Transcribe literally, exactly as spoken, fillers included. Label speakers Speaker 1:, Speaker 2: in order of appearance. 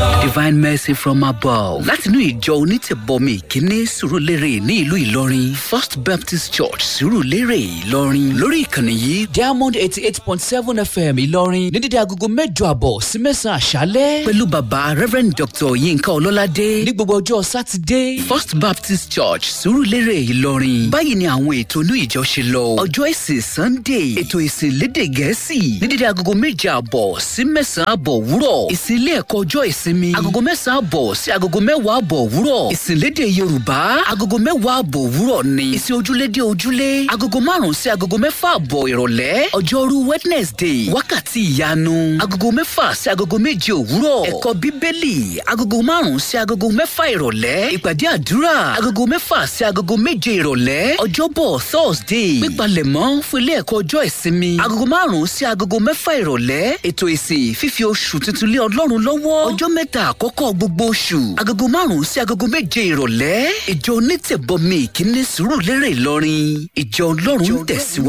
Speaker 1: Divine Mercy from Above látinú ìjọ onítẹ̀bọmi ìkíní Sùúrùlérè ní ìlú Ìlọrin, First Baptist Church, Sùúrùlérè, Ìlọrin, lórí ìkànnì yìí,
Speaker 2: Diamond eighty eight point seven F M Ìlọrin, ní dídí agogo mẹ́jọ àbọ̀ sí mẹ́sàn-án àṣálẹ́
Speaker 1: pẹ̀lú bàbá Reverend Doctor Yinka Ọlọ́ládé
Speaker 2: ní gbogbo ọjọ́ Sátidé.
Speaker 1: First Baptist Church, Sùúrùlérè, Ìlọrin. Báyìí ni àwọn ètò inú ìjọ ṣe lọ. Ọjọ́ ìsìn Sunday, ètò ìsìn lédè Gẹ̀ẹ́sì ní dídí agogo méje àbọ̀ sí mẹ́sàn-án àbọ̀ wúrọ̀. Ìsìn ilé ẹ̀kọ́ ọjọ́ ìsinmi, agogo mẹ́sàn-án àbọ̀ sí agogo mẹ́wàá àbọ̀ wúrọ̀. Ìsìn lédè Yorùbá, agogo mẹ́wàá àbọ̀ wúrọ̀ ni. Ìsìn ojúlé dé ojúlé, agogo márùn-ún sí agogo mẹ́fà àbọ̀ ìrọ̀lẹ́. Ọjọ́rú Wednesday, wákàtí ìyanu, agogo mẹ́fà sí agogo méje òwúrọ̀. Ẹ̀kọ́ Bíbélì, agogo márùn-ún sí agogo mẹ́fà ìrọ̀lẹ́. Ìpàdé àdúrà, agogo mẹ́fà sí agogo méje ìrọ̀lẹ́. Ọjọ́bọ̀ Thursday, pípalẹ̀mọ́ fún ilé ẹ̀kọ́ ọjọ́ ìsinmi, agogo márùn-ún sí agogo mẹ́fà ìrọ̀lẹ́. Ètò ìsìn fífi oṣù tuntun lé Ọlọ́run lọ́wọ́, ọjọ́ mẹ́ta àkọ́kọ́ gbogbo oṣù, agogo márùn-ún sí agogo méje ìrọ̀lẹ́. Ìjọ onítẹ̀bọmi ìkíní, Sùúrùlérè, Ìlọrin, ìjọ Ọlọ́run ń tẹ̀síwájú.